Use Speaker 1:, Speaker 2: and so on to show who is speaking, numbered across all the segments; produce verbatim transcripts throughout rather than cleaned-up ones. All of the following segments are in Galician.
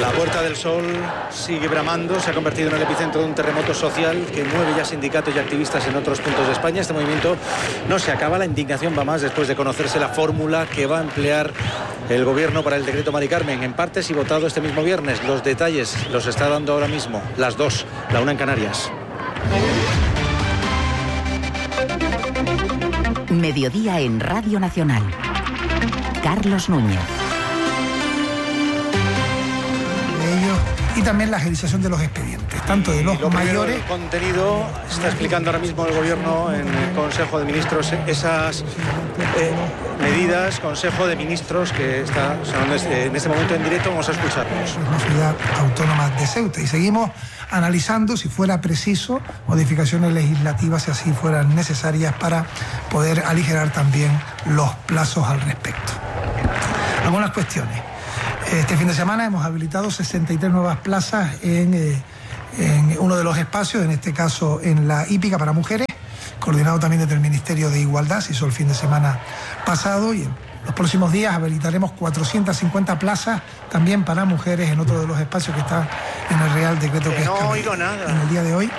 Speaker 1: La Puerta del Sol sigue bramando, se ha convertido en el epicentro de un terremoto social que mueve ya sindicatos y activistas en otros puntos de España. Este movimiento no se acaba, la indignación va más después de conocerse la fórmula que va a emplear el gobierno para el decreto Mari Carmen, en partes y votado este mismo viernes. Los detalles los está dando ahora mismo, las dos, la una en Canarias.
Speaker 2: Mediodía en Radio Nacional. Carlos Núñez.
Speaker 3: Y también la agilización de los expedientes, tanto de los mayores...
Speaker 1: El contenido, está explicando ahora mismo el Gobierno en el Consejo de Ministros esas eh, medidas, Consejo de Ministros que está sonando en este momento en directo. Vamos a escucharlos.
Speaker 3: Es una ciudad autónoma de Ceuta y seguimos analizando, si fuera preciso, modificaciones legislativas, si así fueran necesarias, para poder aligerar también los plazos al respecto. Algunas cuestiones. Este fin de semana hemos habilitado sesenta y tres nuevas plazas en, eh, en uno de los espacios, en este caso en la hípica para mujeres, coordinado también desde el Ministerio de Igualdad, se hizo el fin de semana pasado, y en los próximos días habilitaremos cuatrocientas cincuenta plazas también para mujeres en otro de los espacios que está en el Real Decreto que, que
Speaker 1: no
Speaker 3: es
Speaker 1: oigo nada.
Speaker 3: En el día de hoy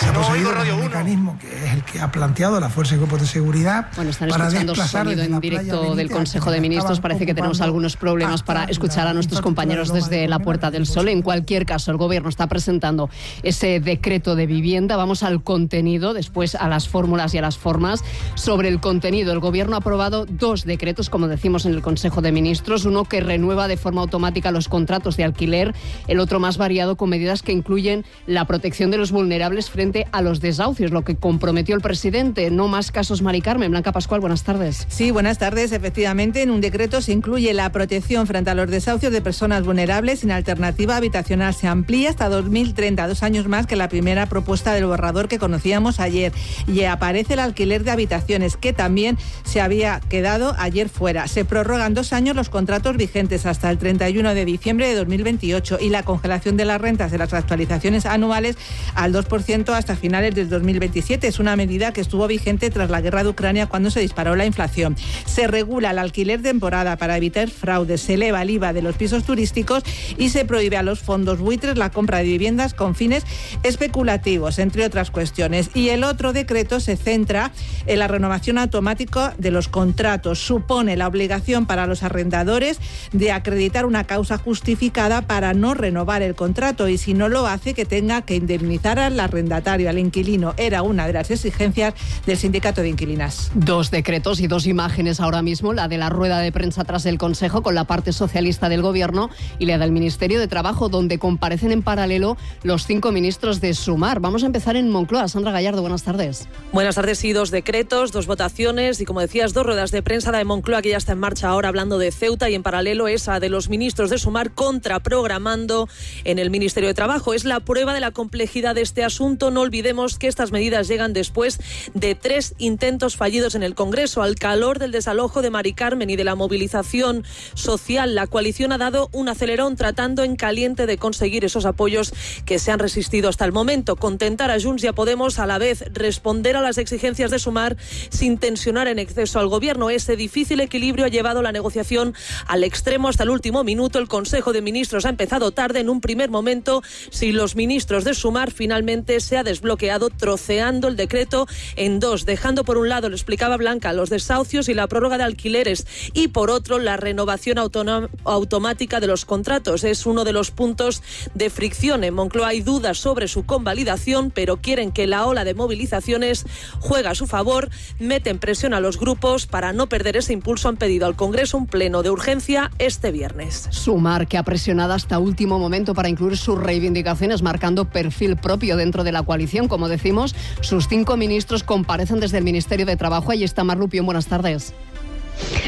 Speaker 3: se ha
Speaker 1: no
Speaker 3: procedido
Speaker 1: oigo
Speaker 3: con un mecanismo que es el que ha planteado la Fuerza y Cuerpos de Seguridad.
Speaker 4: Bueno, están
Speaker 3: para
Speaker 4: escuchando
Speaker 3: desplazar
Speaker 4: sonido en directo del Consejo de Ministros. Parece que tenemos algunos problemas para escuchar a nuestros compañeros desde la Puerta del Sol. En cualquier caso, el Gobierno está presentando ese decreto de vivienda. Vamos al contenido, después a las fórmulas y a las formas. Sobre el contenido, el Gobierno ha aprobado dos decretos, como decimos en el Consejo de Ministros. Uno que renueva de forma automática los contratos de alquiler, el otro más variado, con medidas que incluyen la protección de los vulnerables frente a los desahucios, lo que comprometió el presidente. No más casos Mari Carmen. Blanca Pascual, buenas tardes.
Speaker 5: Sí, buenas tardes. Efectivamente, en un decreto se incluye la protección frente a los desahucios de personas vulnerables sin alternativa habitacional. Se amplía hasta dos mil treinta, dos años más que la primera propuesta del borrador que conocíamos ayer. Y aparece el alquiler de habitaciones, que también se había quedado ayer fuera. Se prorrogan dos años los contratos vigentes hasta el treinta y uno de diciembre de dos mil veintiocho y la congelación de las rentas de las actualizaciones anuales al dos por ciento hasta finales del dos mil veintisiete. Es una medida que estuvo vigente tras la guerra de Ucrania, cuando se disparó la inflación. Se regula el alquiler de temporada para evitar fraudes, se eleva el I V A de los pisos turísticos y se prohíbe a los fondos buitres la compra de viviendas con fines especulativos, entre otras cuestiones. Y el otro decreto se centra en la renovación automática de los contratos. Supone la obligación para los arrendadores de acreditar una causa justificada para no renovar el contrato, y si no lo hace, que tenga que indemnizar al arrendatario, al inquilino. Era una de las exigencias del sindicato de inquilinas.
Speaker 4: Dos decretos y dos imágenes ahora mismo, la de la rueda de prensa tras el Consejo con la parte socialista del Gobierno y la del Ministerio de Trabajo, donde comparecen en paralelo los cinco ministros de Sumar. Vamos a empezar en Moncloa. Sandra Gallardo, buenas tardes.
Speaker 6: Buenas tardes. Sí, dos decretos, dos votaciones y, como decías, dos ruedas de prensa. La de Moncloa, que ya está en marcha ahora hablando de Ceuta, y en paralelo esa de los ministros de Sumar contraprogramando en el Ministerio de Trabajo. Es la prueba de la complejidad de este asunto. No olvidemos que estas medidas llegan después de tres intentos fallidos en el Congreso. Al calor del desalojo de Mari Carmen y de la movilización social, la coalición ha dado un acelerón tratando en caliente de conseguir esos apoyos que se han resistido hasta el momento. Contentar a Junts y a Podemos, a la vez responder a las exigencias de Sumar sin tensionar en exceso al Gobierno. Ese difícil equilibrio ha llevado la negociación al extremo hasta el último minuto. El Consejo de Ministros ha empezado tarde. En un primer momento, si los ministros de Sumar, finalmente se ha desbloqueado, troceando el decreto en dos, dejando por un lado, lo explicaba Blanca, los desahucios y la prórroga de alquileres, y por otro la renovación automática de los contratos. Es uno de los puntos de fricción. En Moncloa hay dudas sobre su convalidación, pero quieren que la ola de movilizaciones juegue a su favor. Meten presión a los grupos para no perder ese impulso. Han pedido al Congreso un pleno de urgencia este viernes.
Speaker 4: Sumar, que ha presionado hasta último momento para incluir sus reivindicaciones, marcando perfil propio dentro de la coalición. Como decimos, sus cinco ministros comparecen desde el Ministerio de Trabajo. Ahí está Mar Lupión, buenas tardes.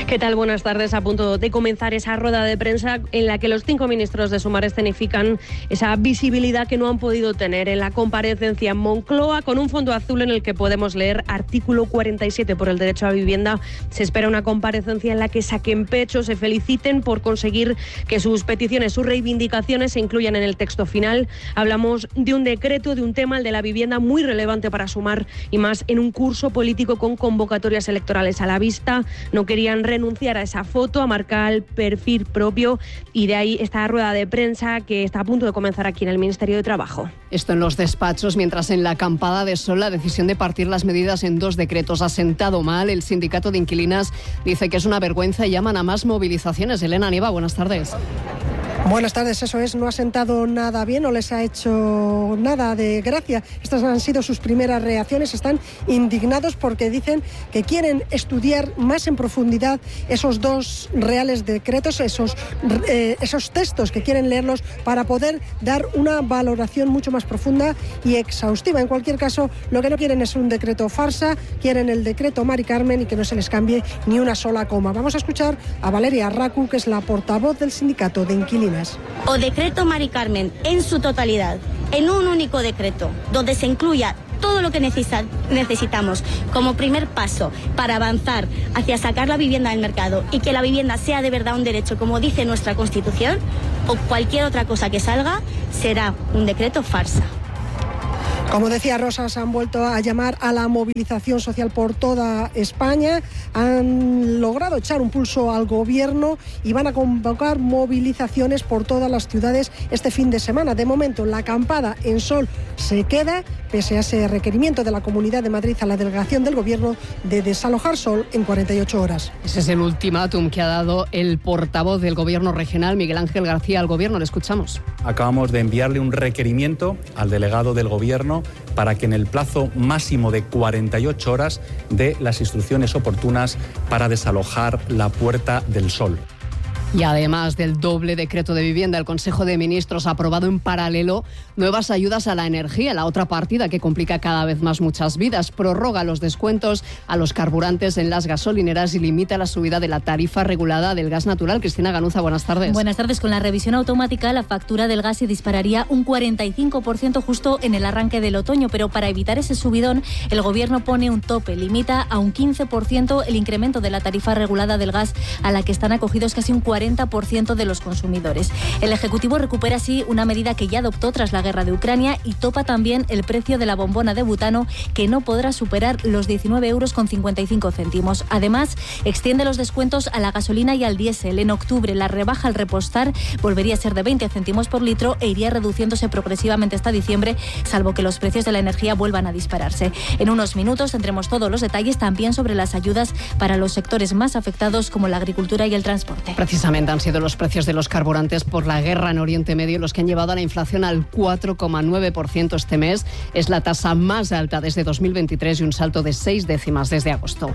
Speaker 7: ¿Qué tal? Buenas tardes. A punto de comenzar esa rueda de prensa en la que los cinco ministros de Sumar escenifican esa visibilidad que no han podido tener en la comparecencia en Moncloa, con un fondo azul en el que podemos leer artículo cuarenta y siete por el derecho a vivienda. Se espera una comparecencia en la que saquen pecho, se feliciten por conseguir que sus peticiones, sus reivindicaciones se incluyan en el texto final. Hablamos de un decreto, de un tema, el de la vivienda, muy relevante para Sumar, y más en un curso político con convocatorias electorales a la vista. No querían renunciar a esa foto, a marcar el perfil propio, y de ahí esta rueda de prensa que está a punto de comenzar aquí en el Ministerio de Trabajo.
Speaker 4: Esto en los despachos, mientras en la acampada de Sol la decisión de partir las medidas en dos decretos ha sentado mal. El sindicato de inquilinas dice que es una vergüenza y llaman a más movilizaciones. Elena Nieva, buenas tardes.
Speaker 8: Buenas tardes, eso es, no ha sentado nada bien, no les ha hecho nada de gracia. Estas han sido sus primeras reacciones, están indignados porque dicen que quieren estudiar más en profundidad esos dos reales decretos, esos, eh, esos textos, que quieren leerlos para poder dar una valoración mucho más profunda y exhaustiva. En cualquier caso, lo que no quieren es un decreto farsa, quieren el decreto Mari Carmen y que no se les cambie ni una sola coma. Vamos a escuchar a Valeria Racu, que es la portavoz del sindicato de inquilinas.
Speaker 9: O decreto Mari Carmen en su totalidad, en un único decreto, donde se incluya todo lo que necesita, necesitamos como primer paso para avanzar hacia sacar la vivienda del mercado y que la vivienda sea de verdad un derecho, como dice nuestra Constitución, o cualquier otra cosa que salga, será un decreto farsa.
Speaker 8: Como decía Rosa, se han vuelto a llamar a la movilización social por toda España, han logrado echar un pulso al gobierno y van a convocar movilizaciones por todas las ciudades este fin de semana. De momento, la acampada en Sol se queda, pese a ese requerimiento de la Comunidad de Madrid a la delegación del gobierno de desalojar Sol en cuarenta y ocho horas.
Speaker 4: Ese es el ultimátum que ha dado el portavoz del gobierno regional, Miguel Ángel García, al gobierno. Le escuchamos.
Speaker 10: Acabamos de enviarle un requerimiento al delegado del gobierno para que en el plazo máximo de cuarenta y ocho horas dé las instrucciones oportunas para desalojar la Puerta del Sol.
Speaker 4: Y además del doble decreto de vivienda, el Consejo de Ministros ha aprobado en paralelo nuevas ayudas a la energía, la otra partida que complica cada vez más muchas vidas. Prorroga los descuentos a los carburantes en las gasolineras y limita la subida de la tarifa regulada del gas natural. Cristina Ganuza, buenas tardes.
Speaker 11: Buenas tardes. Con la revisión automática, la factura del gas se dispararía un cuarenta y cinco por ciento justo en el arranque del otoño, pero para evitar ese subidón, el Gobierno pone un tope, limita a un quince por ciento el incremento de la tarifa regulada del gas a la que están acogidos casi un cuarenta por ciento de los consumidores. El Ejecutivo recupera así una medida que ya adoptó tras la guerra de Ucrania y topa también el precio de la bombona de butano, que no podrá superar los diecinueve euros con cincuenta y cinco céntimos. Además, extiende los descuentos a la gasolina y al diésel. En octubre, la rebaja al repostar volvería a ser de veinte céntimos por litro e iría reduciéndose progresivamente hasta diciembre, salvo que los precios de la energía vuelvan a dispararse. En unos minutos tendremos todos los detalles también sobre las ayudas para los sectores más afectados, como la agricultura y el transporte.
Speaker 4: Precisamente han sido los precios de los carburantes por la guerra en Oriente Medio los que han llevado a la inflación al cuatro coma nueve por ciento este mes. Es la tasa más alta desde dos mil veintitrés y un salto de seis décimas desde agosto.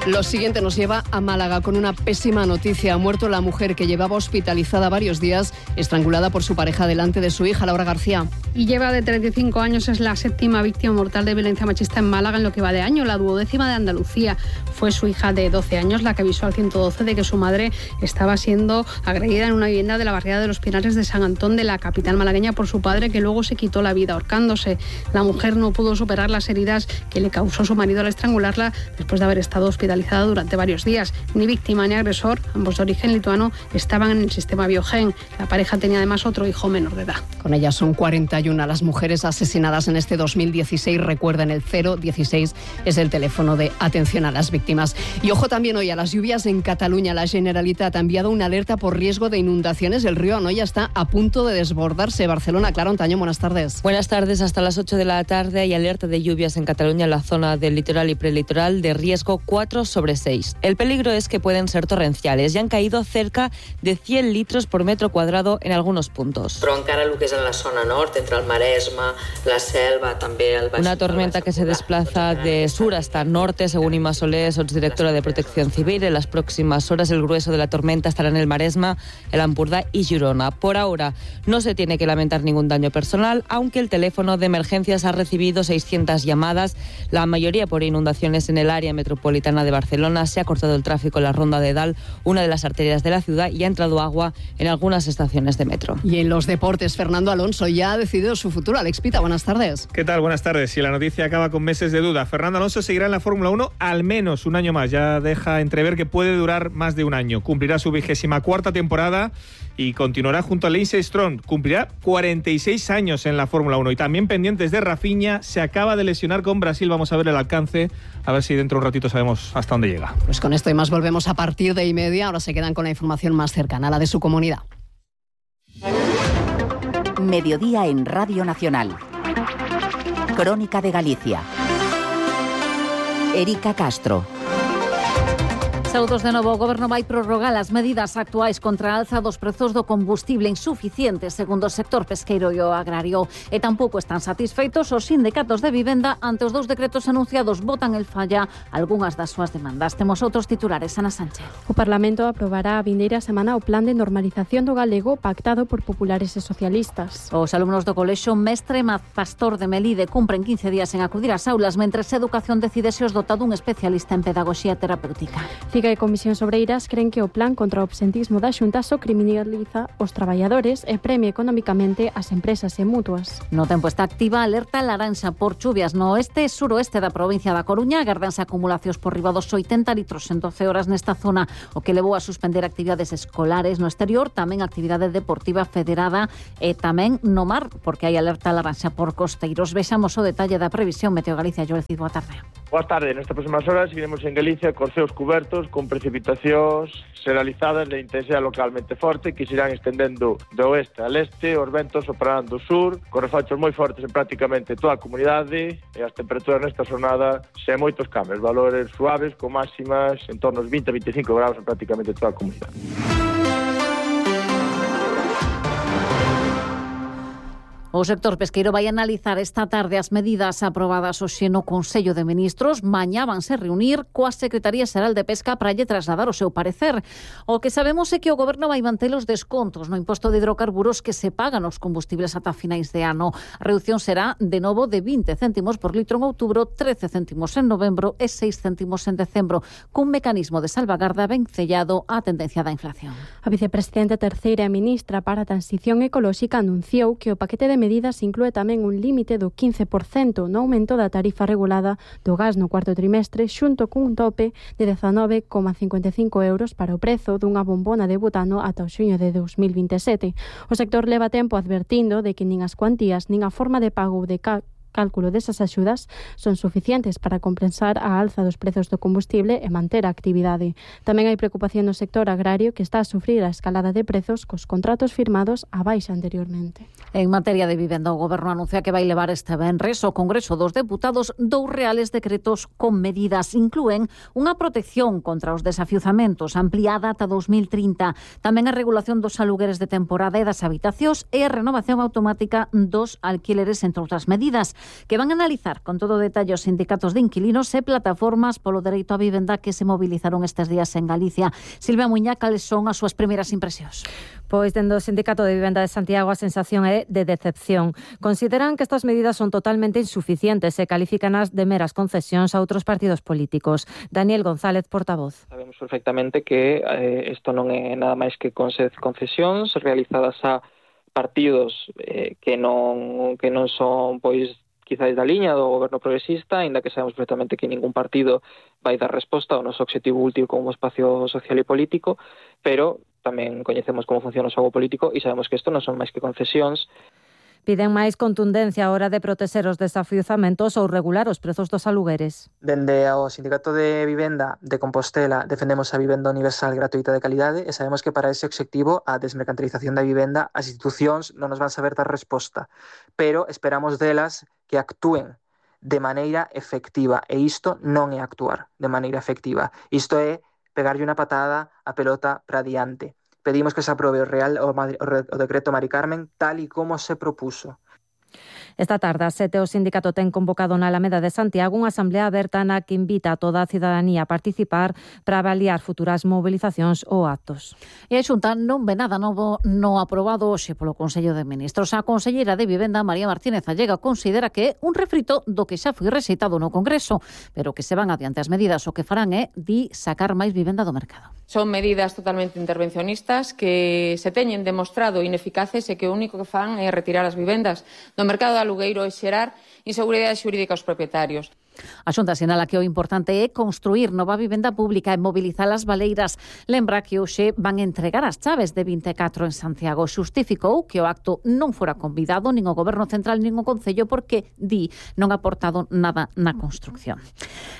Speaker 4: Lo siguiente nos lleva a Málaga con una pésima noticia. Ha muerto la mujer que llevaba hospitalizada varios días, estrangulada por su pareja delante de su hija, Laura García.
Speaker 12: Y lleva de treinta y cinco años, es la séptima víctima mortal de violencia machista en Málaga en lo que va de año, la duodécima de Andalucía. Fue su hija de doce años la que avisó al ciento doce de que su madre estaba siendo agredida en una vivienda de la barriada de los Pinares de San Antón, de la capital malagueña, por su padre, que luego se quitó la vida ahorcándose. La mujer no pudo superar las heridas que le causó su marido al estrangularla después de haber estado hospitalizada durante varios días. Ni víctima ni agresor, ambos de origen lituano, estaban en el sistema Biogen. La pareja tenía además otro hijo menor de edad.
Speaker 4: Con ellas son cuarenta y una las mujeres asesinadas en este dos mil dieciséis. Recuerden, el cero dieciséis es el teléfono de atención a las víctimas. Y ojo también hoy a las lluvias en Cataluña. La Generalitat ha enviado una alerta por riesgo de inundaciones. El río Anoia está a punto de desbordarse. Barcelona, Clara Ontaño, buenas tardes.
Speaker 13: Buenas tardes. Hasta las ocho de la tarde hay alerta de lluvias en Cataluña, en la zona del litoral y prelitoral, de riesgo cuatro sobre seis. El peligro es que pueden ser torrenciales y han caído cerca de cien litros por metro cuadrado en algunos puntos.
Speaker 14: Però encara el que és en la zona nord, entre el Maresme, la Selva, també el Baix.
Speaker 13: Una tormenta que se desplaza de sur hasta norte, según Inma Soler, subdirectora de Protección Civil. En las próximas horas el grueso de la tormenta estará en el Maresme, el Ampurdá y Girona. Por ahora no se tiene que lamentar ningún daño personal, aunque el teléfono de emergencias ha recibido seiscientas llamadas, la mayoría por inundaciones en el área metropolitana de Barcelona. Se ha cortado el tráfico en la Ronda de Dalt, una de las arterias de la ciudad, y ha entrado agua en algunas estaciones de metro.
Speaker 4: Y en los deportes, Fernando Alonso ya ha decidido su futuro. Alex Pita, buenas tardes.
Speaker 15: ¿Qué tal? Buenas tardes. Si la noticia acaba con meses de duda, Fernando Alonso seguirá en la Fórmula uno al menos un año más. Ya deja entrever que puede durar más de un año. Cumplirá su vigésima cuarta temporada y continuará junto a Lance Stroll. Cumplirá cuarenta y seis años en la Fórmula uno. Y también pendientes de Rafinha, se acaba de lesionar con Brasil. Vamos a ver el alcance, a ver si dentro de un ratito sabemos hasta dónde llega.
Speaker 4: Pues con esto y más volvemos a partir de y media. Ahora se quedan con la información más cercana, la de su comunidad.
Speaker 2: Mediodía en Radio Nacional. Crónica de Galicia. Erika Castro.
Speaker 16: Saúdos de novo, o Goberno vai prorrogar as medidas actuais contra a alza dos prezos do combustible insuficientes, segundo o sector pesqueiro e o agrario. E tampouco están satisfeitos os sindicatos de vivenda ante os dous decretos anunciados. Botan el falla algunhas das súas demandas. Temos outros titulares, Ana Sánchez.
Speaker 17: O Parlamento aprobará a vindeira semana o plan de normalización do galego pactado por populares e socialistas.
Speaker 16: Os alumnos do colexio Mestre Pastor de Melide cumpren quince días en acudir ás aulas, mentres Educación decide se os dota dun especialista en pedagogía terapéutica.
Speaker 17: Figa e Comisións Obreiras creen que o plan contra o absentismo da Xunta só criminaliza os traballadores e premia economicamente as empresas e mutuas.
Speaker 16: No tempo está activa alerta laranxa por chuvias no oeste e suroeste da provincia da Coruña. Agardanse acumulacións por riba dos oitenta litros en doce horas nesta zona, o que levou a suspender actividades escolares no exterior, tamén actividade deportiva federada e tamén no mar, porque hai alerta laranxa por costeiros. Vexamos o detalle da previsión Meteo Galicia. Joel Cid, boa tarde.
Speaker 18: Boa tarde. Nestas próximas horas seguiremos en Galicia cos ceos cubertos, con precipitacións generalizadas de intensidade localmente forte que se irán estendendo do oeste al este. Os ventos soprarán do sur, con refachos moi fortes en prácticamente toda a comunidade, e as temperaturas nesta xornada sen moitos cambios, valores suaves con máximas en torno aos vinte a veinticinco graus en prácticamente toda a comunidade.
Speaker 16: O sector pesqueiro vai analizar esta tarde as medidas aprobadas hoxe no Consello de Ministros. Mañá vanse reunir coa Secretaría Xeral de Pesca para lle trasladar o seu parecer. O que sabemos é que o Goberno vai manter os descontos no imposto de hidrocarburos que se pagan os combustibles ata finais de ano. A reducción será de novo de vinte céntimos por litro en outubro, trece céntimos en novembro e seis céntimos en decembro, cun mecanismo de salvagarda ben sellado á tendencia da inflación.
Speaker 17: A vicepresidenta terceira e ministra para a Transición Ecolóxica anunciou que o paquete de medidas inclúe tamén un límite do quince por cento no aumento da tarifa regulada do gas no cuarto trimestre, xunto cun tope de dezanove coma cincuenta e cinco euros para o prezo dunha bombona de butano ata o xuño de dos mil vinte e sete. O sector leva tempo advertindo de que nin as cuantías nin a forma de pago de ca cálculo desas axudas son suficientes para compensar a alza dos prezos do combustible e manter a actividade. Tamén hai preocupación no sector agrario, que está a sufrir a escalada de prezos cos contratos firmados a baixa anteriormente.
Speaker 16: En materia de vivenda, o Goberno anuncia que vai levar este venres ao Congreso dos Deputados dous reales decretos con medidas. Inclúen unha protección contra os desafiuzamentos ampliada ata dos mil trinta, tamén a regulación dos alugueres de temporada e das habitacións e a renovación automática dos alquileres, entre outras medidas, que van a analizar con todo detalle os sindicatos de inquilinos e plataformas polo dereito á vivenda que se movilizaron estes días en Galicia. Silvia Muñá, cales son as súas primeiras impresións?
Speaker 19: Pois, dende o Sindicato de Vivenda de Santiago, a sensación é de decepción. Consideran que estas medidas son totalmente insuficientes e califícanas de meras concesións a outros partidos políticos. Daniel González, portavoz.
Speaker 20: Sabemos perfectamente que eh, isto non é nada máis que concesións realizadas a partidos eh, que non que non son pois quizás da liña do goberno progresista, aínda que sabemos perfectamente que ningún partido vai dar resposta ao noso obxectivo último como espacio social e político, pero tamén coñecemos como funciona o xogo político e sabemos que isto non son máis que concesións.
Speaker 19: Piden máis contundencia a hora de protexer os desafiuzamentos ou regular os prezos dos alugueres.
Speaker 20: Dende ao Sindicato de Vivenda de Compostela defendemos a vivenda universal gratuita de calidade e sabemos que para ese obxectivo, a desmercantilización da vivenda, as institucións non nos van saber dar resposta, pero esperamos delas que actúen de maneira efectiva, e isto non é actuar de maneira efectiva, isto é pegarlle unha patada a pelota para diante. Pedimos que se aprobe o Real o, o decreto Mari Carmen tal e como se propuso.
Speaker 19: Esta tarde, a sete, o sindicato ten convocado na Alameda de Santiago unha asamblea aberta na que invita a toda a cidadanía a participar para avaliar futuras movilizacións ou actos.
Speaker 16: E a Xunta non ve nada novo no aprobado hoxe polo Consello de Ministros. A conselleira de Vivenda, María Martínez Allega, considera que é un refrito do que xa foi rexeitado no Congreso, pero que se van adiante as medidas, o que farán é di sacar máis vivenda do mercado.
Speaker 21: Son medidas totalmente intervencionistas que se teñen demostrado ineficaces e que o único que fan é retirar as vivendas do mercado de alugueiro e xerar inseguridade xurídica aos propietarios.
Speaker 16: A Xunta sinala que o importante é construir nova vivenda pública e mobilizar as baleiras. Lembra que hoxe van entregar as chaves de vinte e catro en Santiago. Xustificou que o acto non fora convidado nin o Goberno Central nin o Concello porque, di, non ha aportado nada na construcción.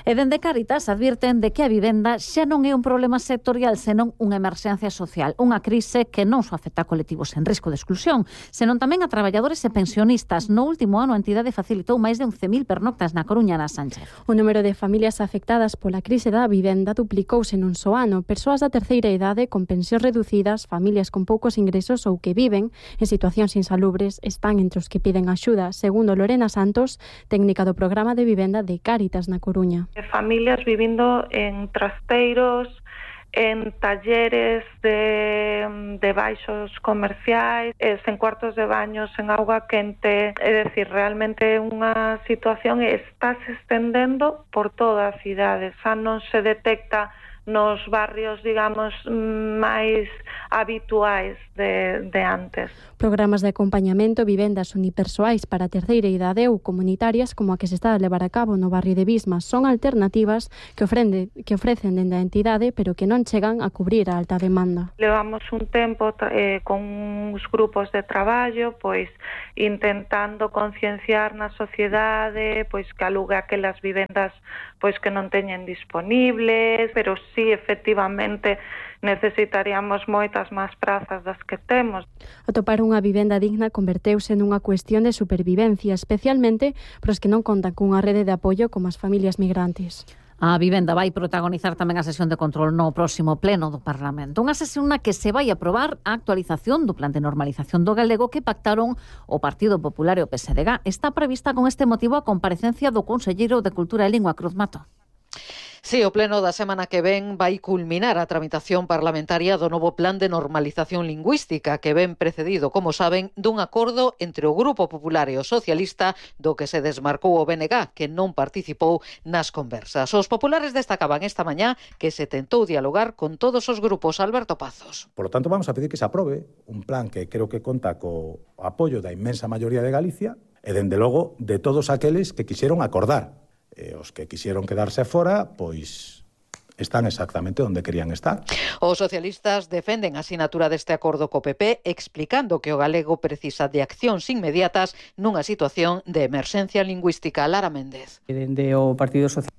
Speaker 16: E dende Cáritas advirten de que a vivenda xa non é un problema sectorial, senón unha emerxencia social, unha crise que non só afecta a colectivos en risco de exclusión, senón tamén a traballadores e pensionistas. No último ano a entidade facilitou máis de once mil pernoctas na Coruña, na Sánchez.
Speaker 17: O número de familias afectadas pola crise da vivenda duplicouse nun só ano. Persoas da terceira idade con pensións reducidas, familias con poucos ingresos ou que viven en situacións insalubres están entre os que piden axuda, segundo Lorena Santos, técnica do programa de vivenda de Cáritas na Coruña.
Speaker 1: Familias vivindo en trasteiros, en talleres de, de baixos comerciais, en cuartos de baños, en auga quente. É dicir, realmente unha situación está se estendendo por toda a cidade. Xa non se detecta nos barrios, digamos, máis habituais de, de antes.
Speaker 17: Programas de acompañamento, vivendas unipersoais para a terceira idade ou comunitarias como a que se está a levar a cabo no barrio de Bismas son alternativas que, ofrende, que ofrecen dende a entidade, pero que non chegan a cubrir a alta demanda.
Speaker 1: Levamos un tempo eh, con uns grupos de traballo, pois intentando concienciar na sociedade, pois que alugue aquelas vivendas pois que non teñen disponibles, pero sí, efectivamente, necesitaríamos moitas máis prazas das que temos.
Speaker 17: Atopar unha vivenda digna converteuse nunha cuestión de supervivencia, especialmente para os que non contan cunha rede de apoio como as familias migrantes.
Speaker 16: A vivenda vai protagonizar tamén a sesión de control no próximo pleno do Parlamento. Unha sesión na que se vai aprobar a actualización do plan de normalización do galego que pactaron o Partido Popular e o P S D G. Está prevista con este motivo a comparecencia do conselleiro de Cultura e Lingua, Cruz Mato.
Speaker 22: Sí, o pleno da semana que ven vai culminar a tramitación parlamentaria do novo plan de normalización lingüística que ven precedido, como saben, dun acordo entre o Grupo Popular e o Socialista do que se desmarcou o B N G, que non participou nas conversas. Os populares destacaban esta mañá que se tentou dialogar con todos os grupos. Alberto Pazos.
Speaker 23: Por lo tanto, vamos a pedir que se aprobe un plan que creo que conta co apoio da inmensa maioría de Galicia e, dende logo, de todos aqueles que quixeron acordar. E os que quixeron quedarse fora, pois están exactamente onde querían estar.
Speaker 22: Os socialistas defenden a asinatura deste acordo co P P, explicando que o galego precisa de accións inmediatas nunha situación de emerxencia lingüística. Lara Méndez.
Speaker 24: Dende o Partido Socialista.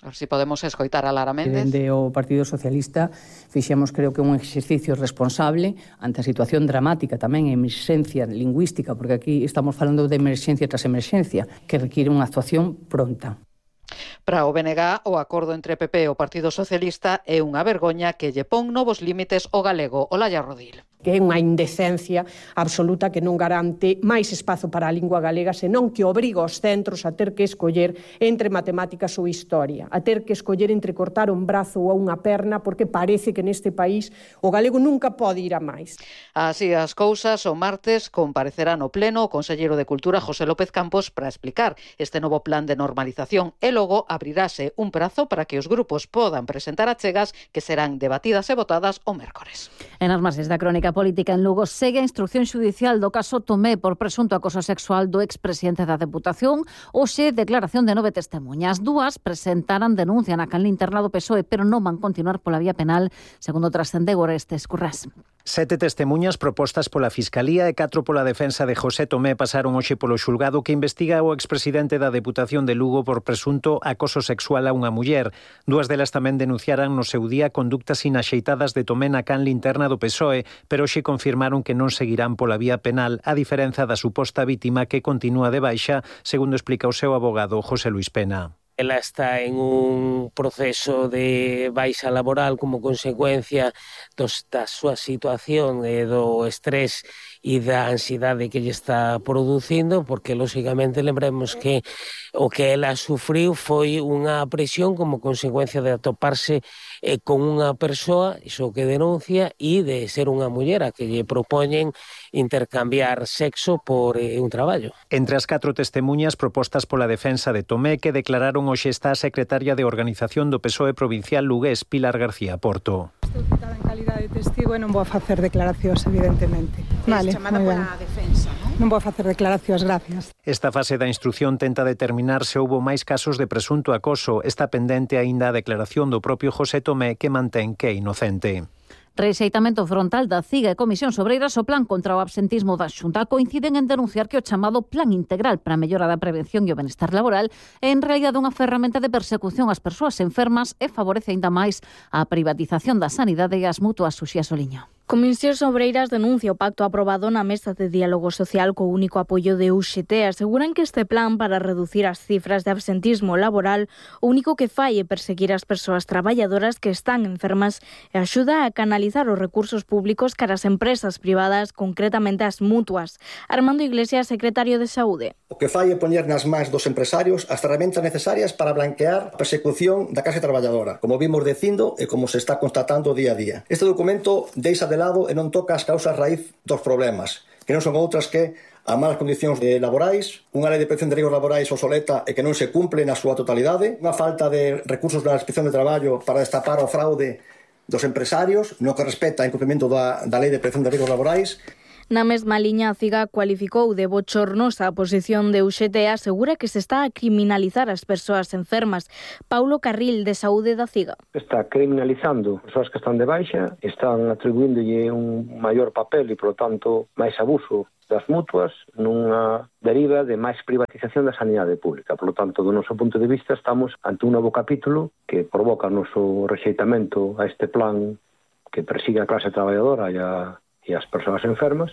Speaker 22: A ver si podemos escoitar a Lara Méndez.
Speaker 24: Dende o Partido Socialista fixemos, creo que un exercicio responsable ante a situación dramática tamén, emerxencia lingüística, porque aquí estamos falando de emerxencia tras emerxencia, que requiere unha actuación pronta.
Speaker 22: Para o B N G, o acordo entre P P e o Partido Socialista é unha vergoña que lle pon novos límites ao galego. Olalla Rodil.
Speaker 25: Que é unha indecencia absoluta que non garante máis espazo para a lingua galega, senón que obriga os centros a ter que escoller entre matemáticas ou historia, a ter que escoller entre cortar un brazo ou unha perna, porque parece que neste país o galego nunca pode ir a máis.
Speaker 22: Así as cousas, o martes comparecerá no pleno o conselleiro de Cultura José López Campos para explicar este novo plan de normalización e logo abrirase un prazo para que os grupos podan presentar achegas que serán debatidas e votadas o mércores.
Speaker 16: En as marxes da crónica política en Lugo segue a instrucción xudicial do caso Tomé por presunto acoso sexual do expresidente da Deputación. Hoxe, declaración de nove testemunhas. Dúas presentaran denuncia na canle interna do P S O E, pero non van continuar pola vía penal, segundo trascende Orestes Currás.
Speaker 26: Sete testemunhas propostas pola Fiscalía e catro pola defensa de José Tomé pasaron hoxe polo xulgado que investiga o expresidente da Deputación de Lugo por presunto acoso sexual a unha muller. Dúas delas tamén denunciaran no seu día conductas inaxeitadas de Tomé na canle interna do P S O E, pero hoxe confirmaron que non seguirán pola vía penal, a diferenza da suposta vítima que continúa de baixa, segundo explica o seu abogado José Luis Pena.
Speaker 27: Ela está en un proceso de baixa laboral como consecuencia dos, da súa situación e do estrés e da ansiedade que lle está producindo, porque, lógicamente, lembremos que o que ela sufriu foi unha presión como consecuencia de atoparse eh, con unha persoa, iso que denuncia, e de ser unha muller a que lle propoñen intercambiar sexo por eh, un traballo.
Speaker 26: Entre as catro testemunhas propostas pola defensa de Tomé que declararon hoxe está a secretaria de Organización do P S O E provincial lugués, Pilar García Porto.
Speaker 28: Estou citada en calidade de testigo e non vou a facer declaracións, evidentemente.
Speaker 29: Vale, chamada pola defensa, non?
Speaker 25: Non vou facer declaracións, gracias.
Speaker 26: Esta fase da instrución tenta determinar se houbo máis casos de presunto acoso. Está pendente aínda a declaración do propio José Tomé, que mantén que é inocente.
Speaker 16: Rexeitamento frontal da CIGA e Comisión Obreiras o plan contra o absentismo da Xunta coinciden en denunciar que o chamado Plan Integral para a mellora da prevención e o benestar laboral é en realidade unha ferramenta de persecución ás persoas enfermas e favorece aínda máis a privatización da sanidade e as mutuas. Suxía Soliño.
Speaker 3: Comisións Obreiras denuncia o pacto aprobado na Mesa de Diálogo Social co único apoio de U X T. Aseguran que este plan para reducir as cifras de absentismo laboral o único que fai é perseguir as persoas traballadoras que están enfermas e axuda a canalizar os recursos públicos cara ás empresas privadas, concretamente as mutuas. Armando Iglesias, secretario de Saúde.
Speaker 5: O que fai é poñer nas mans dos empresarios as ferramentas necesarias para blanquear a persecución da clase traballadora, como vimos dicindo e como se está constatando día a día. Este documento deixa de lado e non toca as causas raíz dos problemas, que non son outras que a malas condicións laborais, unha lei de prevención de riscos laborais obsoleta e que non se cumple na súa totalidade, unha falta de recursos da Inspección de Traballo para destapar o fraude dos empresarios, no que respecta ao incumprimento da, da lei de prevención de riscos laborais.
Speaker 3: Na mesma liña, a CIGA cualificou de bochornosa a posición de U X T e asegura que se está a criminalizar as persoas enfermas. Paulo Carril, de Saúde da CIGA.
Speaker 6: Está criminalizando as persoas que están de baixa, están atribuíndolle un maior papel e, por lo tanto, máis abuso das mutuas nunha deriva de máis privatización da sanidade pública. Por lo tanto, do noso punto de vista, estamos ante un novo capítulo que provoca o noso rexeitamento a este plan que persigue a clase traballadora e a e as persoas enfermas.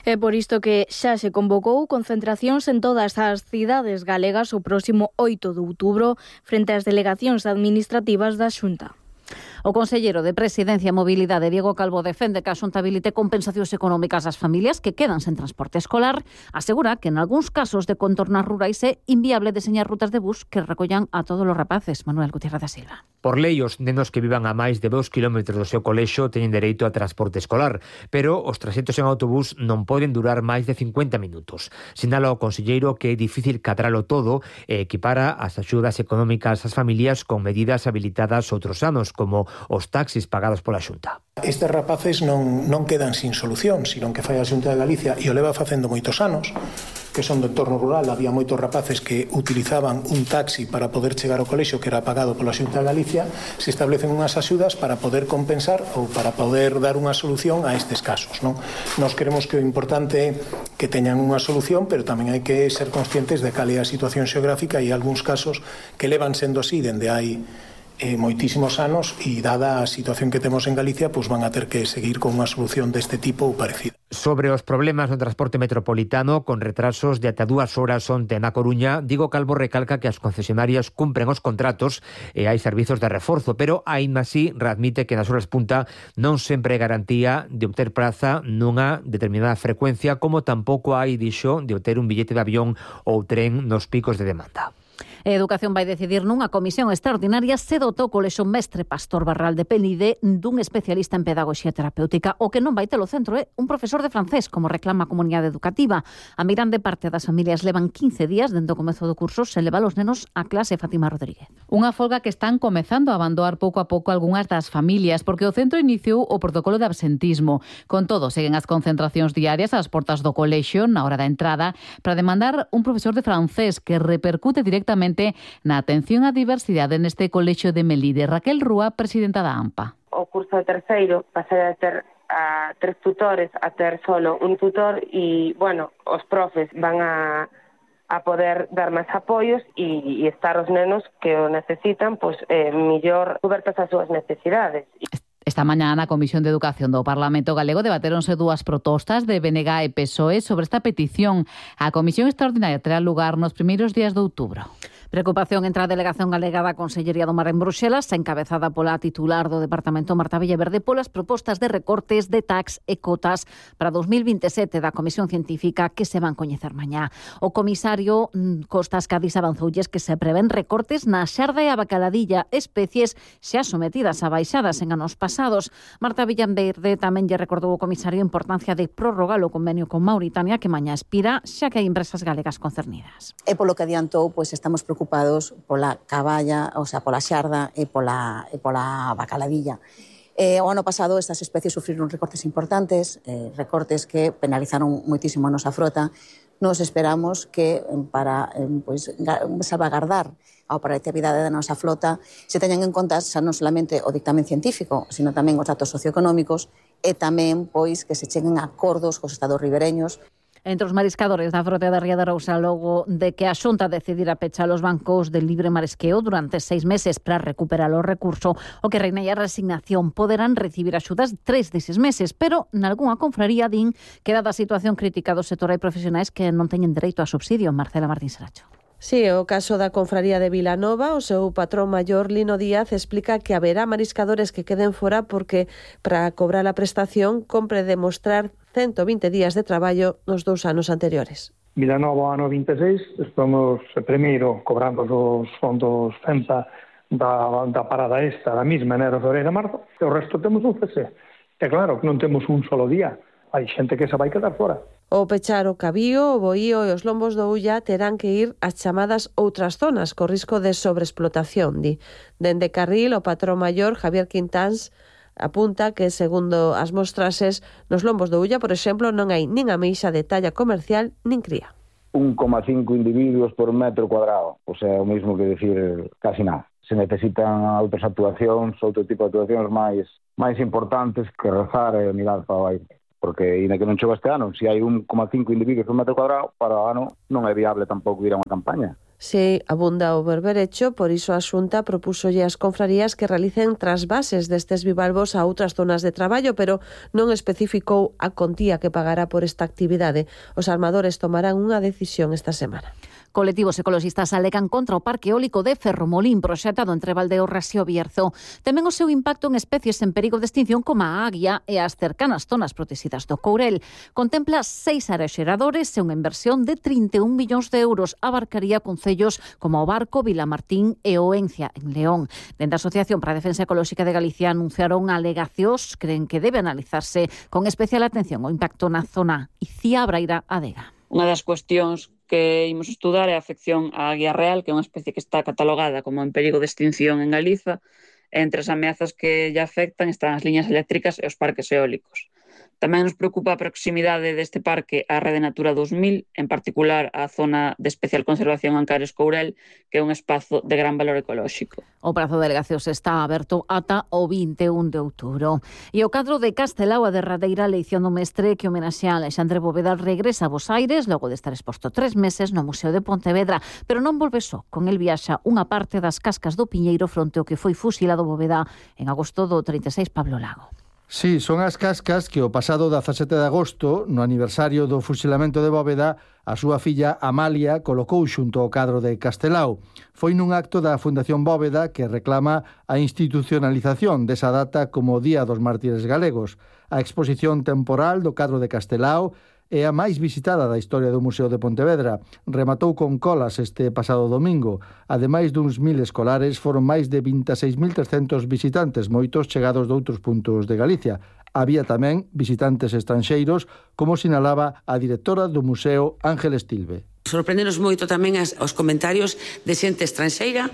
Speaker 3: É por isto que xa se convocou concentracións en todas as cidades galegas o próximo oito de outubro frente ás delegacións administrativas da Xunta.
Speaker 16: O conselleiro de Presidencia e Mobilidade, Diego Calvo, defende que a Xunta habilite compensacións económicas ás familias que quedan sen transporte escolar. Asegura que en algúns casos de contornas rurais é inviable deseñar rutas de bus que recollan a todos os rapaces. Manuel Gutiérrez da Silva.
Speaker 7: Por lei, os nenos que vivan a máis de dous kilómetros do seu colexo teñen dereito a transporte escolar, pero os traxectos en autobús non poden durar máis de cincuenta minutos. Sinala o conselleiro que é difícil cadralo todo e equipara as axudas económicas ás familias con medidas habilitadas outros anos, como os taxis pagados pola Xunta.
Speaker 8: Estes rapaces non, non quedan sin solución, sino que fai a Xunta de Galicia e o leva facendo moitos anos, que son do entorno rural. Había moitos rapaces que utilizaban un taxi para poder chegar ao colexio que era pagado pola Xunta de Galicia. Se establecen unhas axudas para poder compensar ou para poder dar unha solución a estes casos, non? Nos queremos que o importante é que teñan unha solución, pero tamén hai que ser conscientes de cal é a situación xeográfica e algúns casos que levan sendo así dende hai eh, moitísimos anos e dada a situación que temos en Galicia, pois van a ter que seguir con unha solución deste tipo ou parecida.
Speaker 7: Sobre os problemas no transporte metropolitano con retrasos de ata dúas horas onte na Coruña, Diego Calvo recalca que as concesionarias cumpren os contratos e hai servizos de reforzo, pero aínda así readmite que nas horas punta non sempre é garantía de obter praza nunha determinada frecuencia, como tampouco hai, dixo, de obter un billete de avión ou tren nos picos de demanda.
Speaker 16: A Educación vai decidir nunha comisión extraordinaria se dotou o colexio Mestre Pastor Barral de Penide dun especialista en pedagoxía terapéutica. O que non vai ter o centro é un profesor de francés, como reclama a comunidade educativa. A mirande parte das familias levan quince días dende o comezo do curso sen levar os nenos á clase. Fátima Rodríguez.
Speaker 9: Unha folga que están comezando a abandoar pouco a pouco algunhas das familias, porque o centro iniciou o protocolo de absentismo. Con todo, seguen as concentracións diarias ás portas do colexio na hora da entrada para demandar un profesor de francés que repercute directamente na atención á diversidade neste colexio de Melide. Raquel Rúa, presidenta da AMPA.
Speaker 10: O curso de terceiro pasará a ter a tres tutores a ter solo un tutor e, bueno, os profes van a, a poder dar máis apoios e, e estar os nenos que o necesitan, pois, eh, millor cobertas as súas necesidades.
Speaker 9: Esta mañá na Comisión de Educación do Parlamento Galego debatéronse dúas propostas de B N G e P S O E sobre esta petición. A Comisión Extraordinaria terá lugar nos primeiros días de outubro.
Speaker 16: Preocupación entre a Delegación Galega da Consellería do Mar en Bruxelas, encabezada pola titular do Departamento Marta Villaverde, polas propostas de recortes de tax e cotas para dos mil vinte e sete da Comisión Científica que se van coñecer mañá. O comisario Costas Cádiz avanzoulles que se prevén recortes na xarda e a bacaladilla, especies xa sometidas a baixadas en anos pasados. Marta Villaverde tamén lle recordou o comisario a importancia de prorrogar o convenio con Mauritania que mañá expira, xa que hai empresas galegas concernidas.
Speaker 28: E polo que adiantou, pois estamos preocupados preocupados pola caballa, o sea, pola xarda e pola, e pola bacaladilla. Eh, o ano pasado estas especies sufriron recortes importantes, eh, recortes que penalizaron moitísimo a nosa frota. Nos esperamos que para eh, pois, salvagardar a operatividade da nosa flota se teñan en conta xa non solamente o dictamen científico, sino tamén os datos socioeconómicos e tamén pois que se cheguen a acordos cos estados ribereños.
Speaker 16: Entre os mariscadores da frota da Ría de Arousa, logo de que a Xunta decidira pechar os bancos de libre marisqueo durante seis meses para recuperar o recurso, o que reina a resignación, poderán recibir axudas tres deses meses, pero nalgúnha confraría din que dada a situación crítica do sector hai profesionais que non teñen dereito a subsidio. Marcela Martín Saracho.
Speaker 2: Sí, o caso da confraría de Vilanova, o seu patrón maior Lino Díaz explica que haberá mariscadores que queden fora porque para cobrar a prestación compre demostrar ciento vinte días de traballo nos dous anos anteriores.
Speaker 4: Vilanova ano vinte e seis, estamos primeiro cobrando os fondos FEMPA da, da parada esta, da mesma, enero, febreiro e marzo, e o resto temos un C S. E claro que non temos un solo día, hai xente que se vai quedar fora.
Speaker 2: O pechar o Cabío, o Boío e os lombos do Ulla terán que ir ás chamadas outras zonas, co risco de sobreexplotación, di. Dende Carril, o patrón maior, Javier Quintáns, apunta que, segundo as mostrases, nos lombos do Ulla, por exemplo, non hai nin ameixa de talla comercial nin cría.
Speaker 11: un coma cinco individuos por metro cuadrado, o sea, o mesmo que decir casi nada. Se necesitan outras actuacións, outro tipo de actuacións máis máis importantes que rezar e mirar para o aire. Porque, ainda que non chova este ano, se hai un coma cinco individuos por metro cuadrado, para o ano non é viable tampouco ir a unha campaña.
Speaker 2: Se abunda o berberecho, por iso a Xunta propúsolle ás confrarías que realicen trasvases destes bivalvos a outras zonas de traballo, pero non especificou a contía que pagará por esta actividade. Os armadores tomarán unha decisión esta semana.
Speaker 16: Colectivos ecoloxistas alegan contra o parque eólico de Ferromolín proxectado entre Valdeorras e o Bierzo. Tamén o seu impacto en especies en perigo de extinción como a águia e as cercanas zonas protegidas do Courel. Contempla seis áreas xeradores e unha inversión de trinta e un millóns de euros. Abarcaría concellos como o Barco, Vilamartín e o Encia, en León. Dende a Asociación para a Defensa Ecolóxica de Galicia anunciaron alegacións, creen que debe analizarse con especial atención o impacto na zona Icía, Braira, Adega.
Speaker 12: Unha das cuestións que imos estudar é a afección á águia real, que é unha especie que está catalogada como en perigo de extinción en Galiza. Entre as ameazas que lle afectan están as liñas eléctricas e os parques eólicos. Tamén nos preocupa a proximidade deste parque á Rede Natura dos mil, en particular a zona de especial conservación Ancares Courel, que é un espazo de gran valor ecolóxico.
Speaker 16: O prazo de alegacións está aberto ata o vinte e un de outubro. E o cadro de Castelao, a derradeira leición do mestre que homenaxea a Alexandre Bóveda, regresa a Bos Aires logo de estar exposto tres meses no Museo de Pontevedra, pero non volve só. Con el viaxa unha parte das cascas do Piñeiro fronte ao que foi fusilado Bóveda en agosto do trinta e seis Pablo Lago.
Speaker 13: Sí, son as cascas que o pasado dezasete de agosto, no aniversario do fusilamento de Bóveda, a súa filla Amalia colocou xunto ao cadro de Castelao. Foi nun acto da Fundación Bóveda que reclama a institucionalización desa data como Día dos Mártires Galegos. A exposición temporal do cadro de Castelao é a máis visitada da historia do Museo de Pontevedra. Rematou con colas este pasado domingo. Ademais duns mil escolares, foron máis de vinte e seis mil trescentos visitantes, moitos chegados de outros puntos de Galicia. Había tamén visitantes estranxeiros, como sinalaba a directora do museo, Ángel Estilve.
Speaker 14: Sorprendenos moito tamén as, os comentarios de xente estranxeira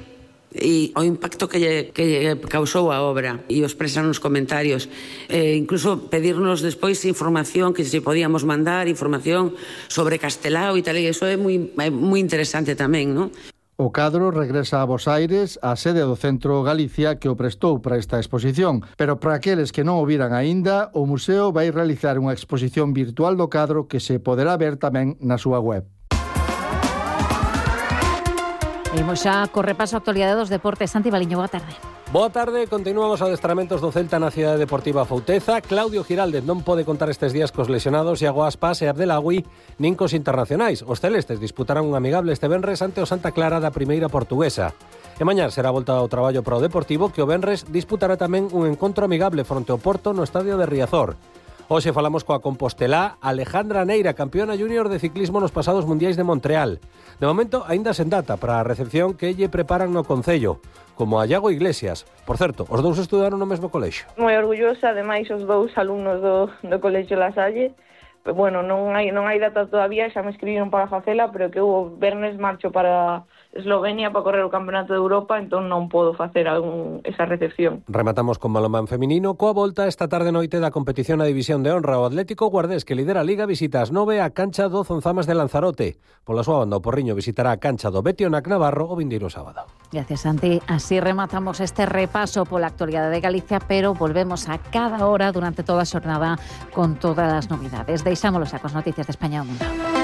Speaker 14: e o impacto que lle, que lle causou a obra e o expresan nos comentarios, e incluso pedirnos despois información, que se podíamos mandar información sobre Castelao e tal, e iso é moi, é moi interesante tamén, non?
Speaker 13: O cadro regresa a Bos Aires, a sede do Centro Galicia que o prestou para esta exposición, pero para aqueles que non o viran aínda, o museo vai realizar unha exposición virtual do cadro que se poderá ver tamén na súa web.
Speaker 16: Imos xa co repaso a actualidade dos deportes. Santi Baliño, boa tarde.
Speaker 15: Boa tarde, continuan os adestramentos do Celta na Cidade Deportiva Fouteza. Claudio Giraldez non pode contar estes días cos lesionados Iago Aspas e Abdelawi nin cos internacionais. Os celestes disputarán un amigable este venres ante o Santa Clara da Primeira Portuguesa. E mañá será volta ao traballo para o Deportivo, que o venres disputará tamén un encontro amigable fronte ao Porto no estadio de Riazor. Hoxe falamos coa compostelá Alejandra Neira, campeona júnior de ciclismo nos pasados mundiais de Montreal. De momento, aínda sen data para a recepción que lle preparan no Concello, como a Iago Iglesias. Por certo, os dous estudaron no mesmo colexio.
Speaker 18: Moi orgullosa, ademais, os dous alumnos do, do colexio La Salle. Bueno, non hai, non hai data todavía, xa me escribiron para facela, pero que o vernes marcho para Eslovenia para correr o Campeonato de Europa, entón non podo facer algún, esa recepción.
Speaker 15: Rematamos con balonmán feminino. Coa volta esta tarde noite da competición a División de Honra. O Atlético Guardés, que lidera a Liga, visita as nove a cancha do Zonzamas de Lanzarote. Pola súa banda, o Porriño visitará a cancha do Betionac Navarro o vindeiro sábado.
Speaker 16: Gracias, Santi. Así rematamos este repaso pola actualidade de Galicia, pero volvemos a cada hora durante toda a xornada con todas as novidades. Deixámolos a cos noticias de España e o mundo.